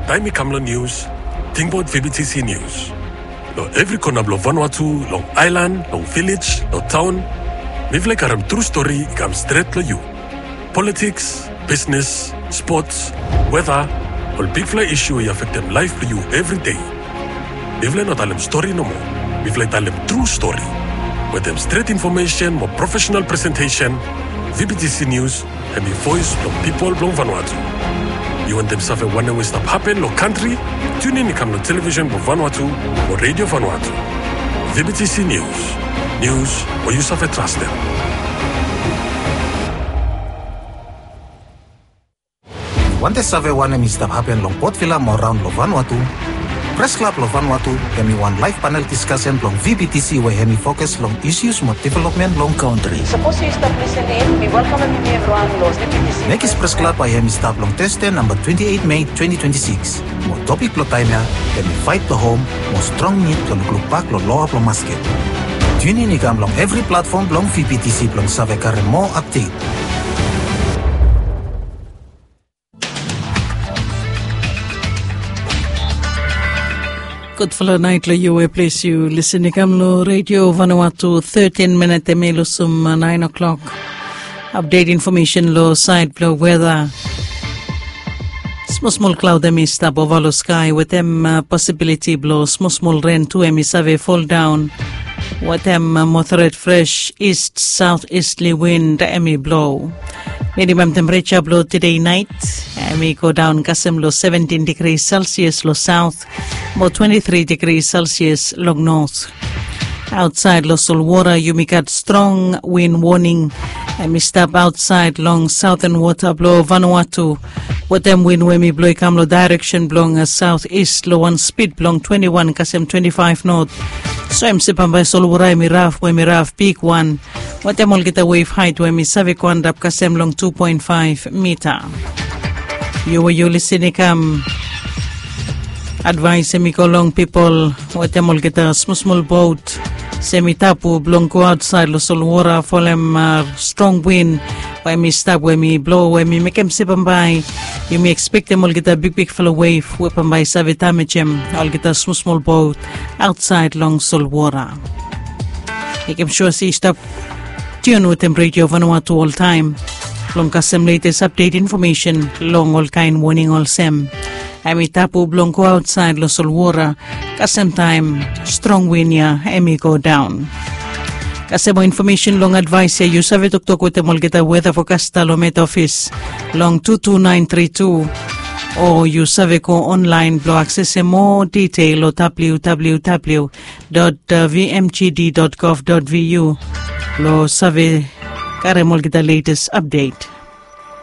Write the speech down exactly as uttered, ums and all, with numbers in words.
Taem i kam long nius, tingbaot V B T C Nius. Long evri kona blong Vanuatu, long aelan, long vilej, long taon, mifala i karem tru stori i kam stret long yu. Politiks, bisnes, spots, weta, ol bigfala isu we i afektem laef blong yu evri dei. Mifala i no talem stori nomo. Mifala i talem tru stori. Wetem stret infomesen mo profesenal presentesen, V B T C Nius hemi voes blong pipol blong Vanuatu. Yu wantem save wanem we stap hapen long kantri? Tiunin i kam long televisen blong Vanuatu mo Redio Vanuatu. V B T C Nius. Nius we yu save trastem. Yu wantem save wanem i stap hapen long Port Vila mo raon long Vanuatu? Pres Klab long Vanuatu hemi wan laef panel diskasen blong V B T C we hemi fokus long isus mo developmen blong kantri. Sapos yu stap lisening, mi welkamem yumi evriwan long V B T C. Mekis Pres Klab bae hemi stap long Tasde namba twenti eit Mei twenti twenti sikis. Mo topik blong taem ya hemi faet blong hom mo strong nid blong lukluk bak long loa blong masket. Tiunin i kam long evri platfom blong V B T C blong save karem moa apdet. Gudfala naet long yu we ples yu lisin i kam long Redio Vanuatu. Tetin minit hemi lusum naen o'klok. Apdet infomesen long saed blong weta. Smol smol klaod hemi stap ova long skae wetem posibiliti blong smol smol ren tu hemi save foldaon. Wetem moderet fres ist saotistli win hemi blo. Minimam tempereja blong tede naet hemi godaon kasem long seventin digri Celsius long saot mo twenti tri digri Celsius long not. Aotsaed long solwora yumi gat strong win woning hemi stap aotsaed long saoten wota blong Vanuatu. Wetem win we hemi blo i kam long daereksen blong saotist long wan spid blong twenti wan kasem twenti faef not. So hemi stap bambae solwora hemi raf we hemi raf bigwan. Wetem olgeta wef haet we hemi save go antap kasem long tu poen faef mita. Yu we yu lisin i kam. Advaes hemi go long pipol wetem olgeta smosmol bot se hemi tabu blong go aotsaed long solwora folem strong win we hemi stap we hemi blo we hemi mekem se bambae yumi ekspektem olgeta bigbigfala wef we bambae i save damejem olgeta smosmol bot aotsaed long solwora. Mekem sua se yu stap tiun wetem Redio Vanuatu oltaem blong kasem letes apdet infomesen long olkaen woning olsem hemi tabu blong go aotsaed long solwora kasem taem strong win ya hemi godaon. Kasem moa infomesen long advaes ya yu save toktok wetem olgeta weta fokasta long Met Ofis long tu tu naen tri tu, o yu save go onlaen blong aksesem moa ditel long www dot vmgd dot gov dot vu blong save karem olgeta letes apdet.